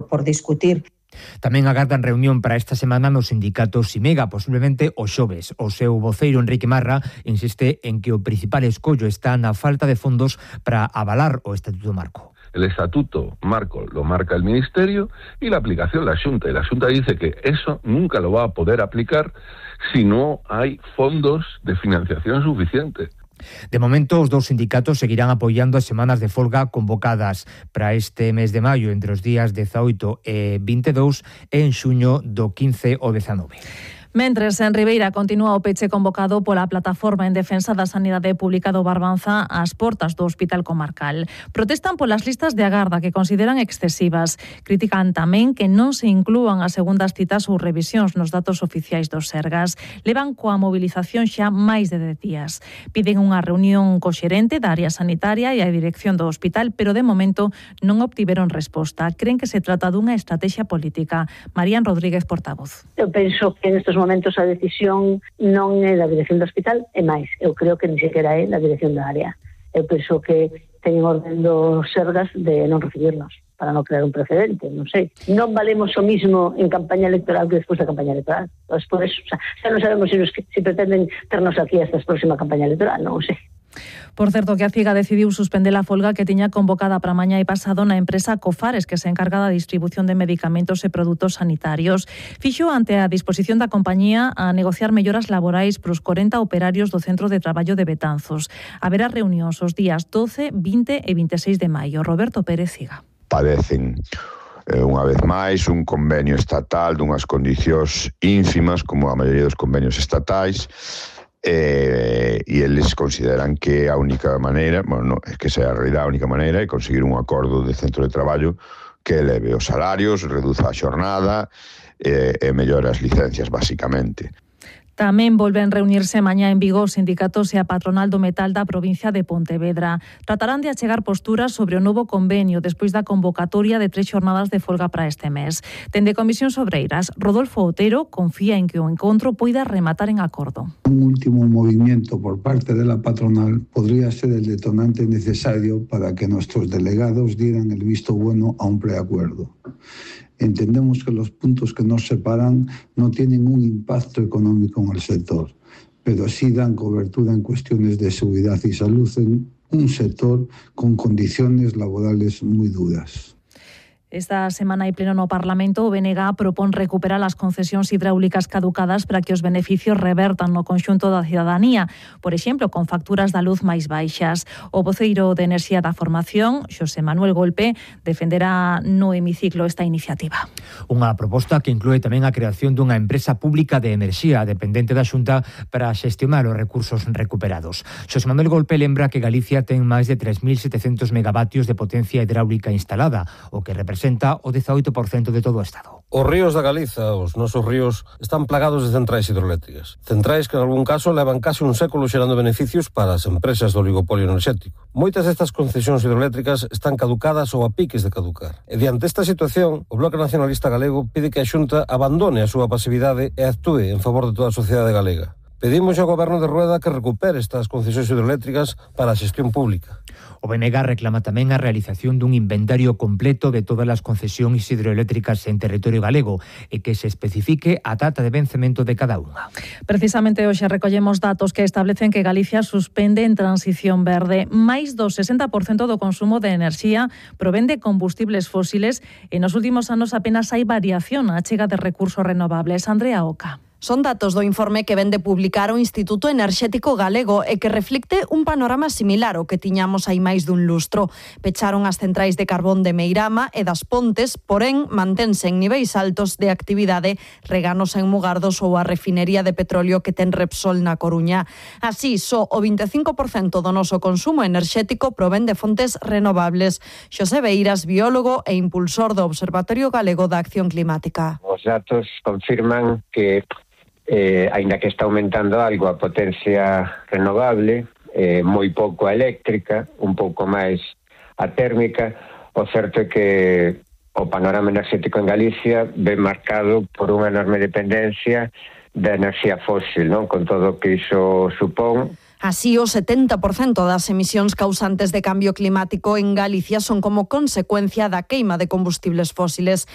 por discutir. Tamén agardan reunión para esta semana no sindicato Simega, posiblemente o xoves. O seu voceiro, Enrique Marra, insiste en que o principal escollo está na falta de fondos para avalar o Estatuto Marco. El Estatuto Marco lo marca el Ministerio y la aplicación la Xunta. Y la Xunta dice que eso nunca lo va a poder aplicar si no hay fondos de financiación suficientes. De momento, os dous sindicatos seguirán apoiando as semanas de folga convocadas para este mes de maio entre os días 18 e 22 e en xuño do 15 ao 19. Mentres, en Ribeira continúa o peche convocado pola Plataforma en Defensa da Sanidade Pública do Barbanza ás portas do Hospital Comarcal. Protestan polas listas de agarda que consideran excesivas. Critican tamén que non se inclúan as segundas citas ou revisións nos datos oficiais dos Sergas. Levan coa mobilización xa máis de 10 días. Piden unha reunión co xerente da área sanitaria e a dirección do hospital, pero de momento non obtiveron resposta. Creen que se trata dunha estrategia política. Marían Rodríguez, portavoz. Eu penso que nestes momentos a decisión non é da dirección do hospital, é máis, eu creo que ni sequera é da dirección da área. Eu penso que teñen orden dos Sergas de non recibirnos, para non crear un precedente, non sei. Non valemos o mismo en campaña electoral que despois da campaña electoral. Pues por eso, xa non sabemos se pretenden ternos aquí hasta a próxima campaña electoral, non sei. Por certo, que a CIGA decidiu suspender a folga que tiña convocada para mañá e pasado na empresa Cofares, que se encarga da distribución de medicamentos e produtos sanitarios. Fixo ante a disposición da compañía a negociar melloras laborais pros 40 operarios do Centro de Traballo de Betanzos. Haberá reunións os días 12, 20 e 26 de maio. Roberto Pérez, CIGA. Padecen unha vez máis un convenio estatal dunhas condicións ínfimas como a maioría dos convenios estatais, e eles consideran que a única maneira, é que sea a realidade a única maneira é conseguir un acordo de centro de traballo que eleve os salarios, reduza a xornada e mellore as licencias, basicamente. Tamén volven reunirse mañá en Vigo os sindicatos e a patronal do metal da provincia de Pontevedra. Tratarán de achegar posturas sobre o novo convenio despois da convocatoria de 3 xornadas de folga para este mes. Dende Comisións Obreiras, Rodolfo Otero confía en que o encontro poida rematar en acordo. Un último movimiento por parte de la patronal podría ser el detonante necesario para que nuestros delegados dieran el visto bueno a un preacuerdo. Entendemos que los puntos que nos separan no tienen un impacto económico en el sector, pero sí dan cobertura en cuestiones de seguridad y salud en un sector con condiciones laborales muy duras. Esta semana hai pleno no Parlamento, o BNG propón recuperar as concesións hidráulicas caducadas para que os beneficios revertan no conxunto da cidadanía, por exemplo, con facturas da luz máis baixas. O voceiro de Enerxía da Formación, Xosé Manuel Golpe, defenderá no hemiciclo esta iniciativa. Unha proposta que inclúe tamén a creación dunha empresa pública de enerxía dependente da Xunta para xestionar os recursos recuperados. Xosé Manuel Golpe lembra que Galicia ten máis de 3.700 megavatios de potencia hidráulica instalada, o que representa o 18% de todo o Estado. Os ríos da Galiza, os nosos ríos, están plagados de centrais hidroeléctricas. Centrais que, en algún caso, levan case un século xerando beneficios para as empresas do oligopolio enerxético. Moitas destas concesións hidroeléctricas están caducadas ou a piques de caducar. E diante esta situación, o Bloque Nacionalista Galego pide que a Xunta abandone a súa pasividade e actúe en favor de toda a sociedade galega. Pedimos ao Goberno de Rueda que recupere estas concesións hidroeléctricas para a xestión pública. O BNG reclama tamén a realización dun inventario completo de todas as concesións hidroeléctricas en territorio galego e que se especifique a data de vencemento de cada unha. Precisamente hoxe recollemos datos que establecen que Galicia suspende en transición verde. Máis do 60% do consumo de enerxía provén de combustibles fósiles e nos últimos anos apenas hai variación na achega de recursos renovables. Andrea Oca. Son datos do informe que vén de publicar o Instituto Enerxético Galego e que reflicte un panorama similar ao que tiñamos hai máis dun lustro. Pecharon as centrais de carbón de Meirama e das Pontes, porén mantense en niveis altos de actividade Reganos en Mugardos ou a refinería de petróleo que ten Repsol na Coruña. Así, só o 25% do noso consumo enerxético provén de fontes renovables. Xosé Beiras, biólogo e impulsor do Observatorio Galego da Acción Climática. Os datos confirman que aínda que está aumentando algo a potencia renovable, moi pouco a eléctrica, un pouco máis a térmica, o certo é que o panorama enerxético en Galicia ven marcado por unha enorme dependencia da enerxía fósil, non? Con todo o que iso supón. Así, o 70% das emisións causantes de cambio climático en Galicia son como consecuencia da queima de combustibles fósiles.